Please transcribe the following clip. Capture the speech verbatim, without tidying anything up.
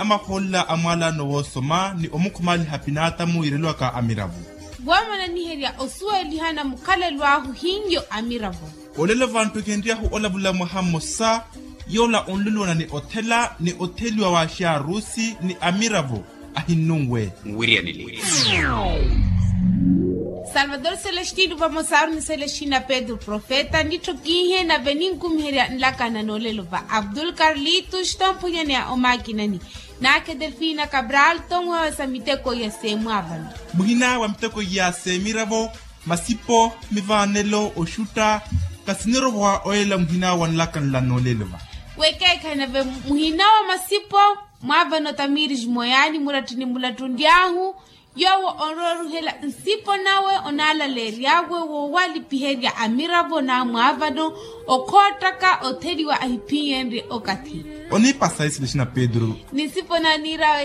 Amahoolela a mwaalano woosoma ni omukhumaliha pinaatamu yiireliwaka amiravo. Woomananiherya osuwelihana mukhalelo ahu hinyo amiravo. Olelo vantthu ekenry'ahu olavula mwaha mmosa, yoola onluluwana ni othela ni otheliwa w'axaarusi ni amiravo ahinnunwe. Nwiryanile. Salvador celestino vamosaru ni celestina pedro profeta nittokiihe nave ninkumiherya nlakana n'olelo va abdul carlitos tomphunyaneya omakinani. Naakhe delfina cabral tonwewesa miteko ya seemwaavano. Muhina wa miteko ya seemiravo, masipo, mivaanelo oxutta, kasinerovowa oyelela muhina wa nlakana nla n'olelo va. Wekeekhayi nave muhina wa masipo mwaavano tamiris moyaani muratthi ni mulattu ndyaahu. Yoowo onroruhela nsipo nawe onaalaleery'awe woowalipiherya amiravo n'amwaavano okhoottaka otheliwa ahiphiyenrye okathi. Oniipasa isili xina pedro. Ni nsipo naaniir'awe.